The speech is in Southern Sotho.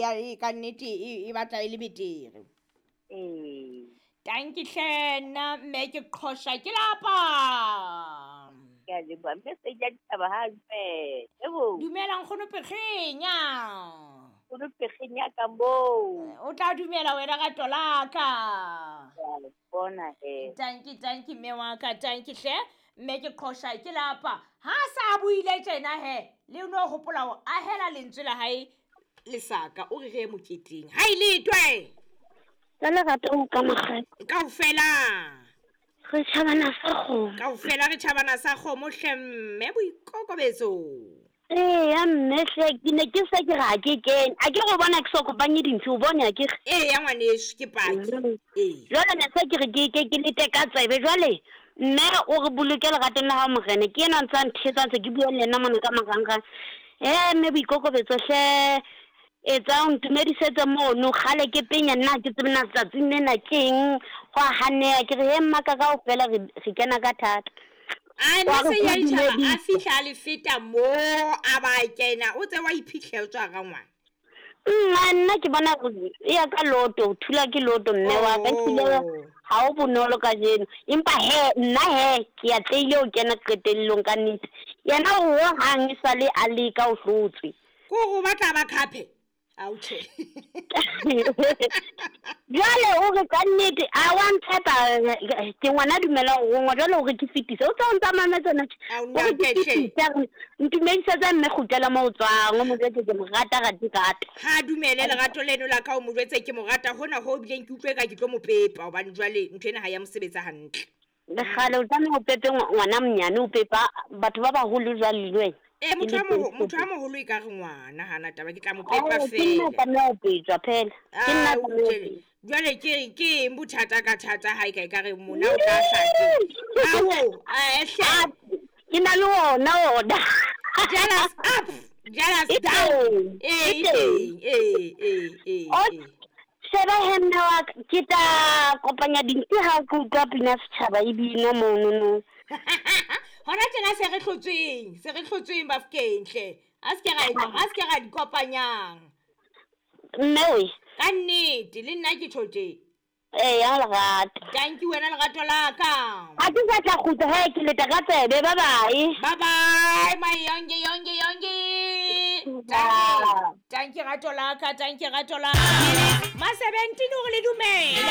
ya e ka nnete e batla e le betere. Ee. Tanki hle nna mme ke qhosha ke lapa. Ke a leboha. Mme se ja ditaba ha dumele. Ebo. Dumela nkgono Pekgenya. Nkgono Pekgenya ka moo. O tla dumela wena ka tolaka. Ke a le bona he. Tanki tanki mme wa ka tanki hle mme ke qhosha ke lapa. Ha sa buile tjena he le no hopola ho ahela lentswe la hae lesaka o re re moketeng. Ha ile twe. Ka lerato o ka mokgadi. Kaofela. Re tjhabana sa kgomo. Kaofela re tjhabana sa kgomo hle mme boikokobetso. Eya mme hle ke ne ke se ke re ha ke kene. A ke re o bona ke so kopanye dintho o bone a ke re. Eya ngwaneso ke paki. Ee. Jwale ne se ke re ke lete ka tsebe jwale mme o re boloke leratong la hao morena ke ena ntse a nthetsa ntse ke bua le yena mona ka marangrang. Mme boikokobetso hle etsa o ntumedisetse mono kgale ke penya nna ke tsebe na tsatsing lena ke eng go a haneha ke re he mmaka kaofela re kena ka thata. A Wa nne re se ya ko ditjhaba a dumedisa. fihla a le feta mo a ba kena o tse wa iphitlhela o tswa ga ngwana. Nna nna ke bona gore e ya ka loto o thula ke loto mme wa ka ehlile ha o bonolo kajeno empa he nna he ke atlehile ho kena qetellong ka nnete. Yena ho hang e sale a leka o hlotswe. Ko go batla ba khape. Ao tjhe. Jwale o re ka nnete a wa ntshepa ke ngwana dumela ho rongwa jwale o re ke fetise o tsa o ntsa mametse na Ao o re ke nna ke hle. fetise a re ntumedisetsa mme kgutlela mo o tswang o mo jwetse ke mo rata rate rata. Ha dumele lerato leno la ka o mo jwetse ke mo rata hona ho bileng ke utlwe ka ke tlo mo pepa hobane jwale ntho ena ha ya mosebetsa hantle. Le kgale o tlameha o pepe ngwana monyane o pepa batho ba baholo jwale le wena. Eh Ke motho le a motho a moholo e ka re ngwana hana taba ke tla mo pepa Ao, ke nna fela. tlameha ho petswa phela. Ke nna Ah, tlameha ho jwale petswa. jwale ke eng bothata ka thata ha e ka e ka re mona o tla hlake. Ao, hle. Ah, ke na le ona ona. Jealous up, jealous E down. teng, Eh, e e teng. teng. Eh, eh, eh, O eh. sheba he mme wa ka, ke tla kopanya dintho ha ke utlwa pina setjhaba e bina monono. Hona tjena se re hlotsweng Bafokeng hle. A se ke ra a se ke ra di kopanyang. Mme we. Ka nnete le nna ke tjho tje. Eya lerato. Thank you wena lerato la ka. Ha ke sa tla kgutla he ke leta ka tsebe bye bye. Bye bye my yonge yonge yonge. Bye. Thank you rato la ka, thank you rato la. Ma 17 o re le dumela.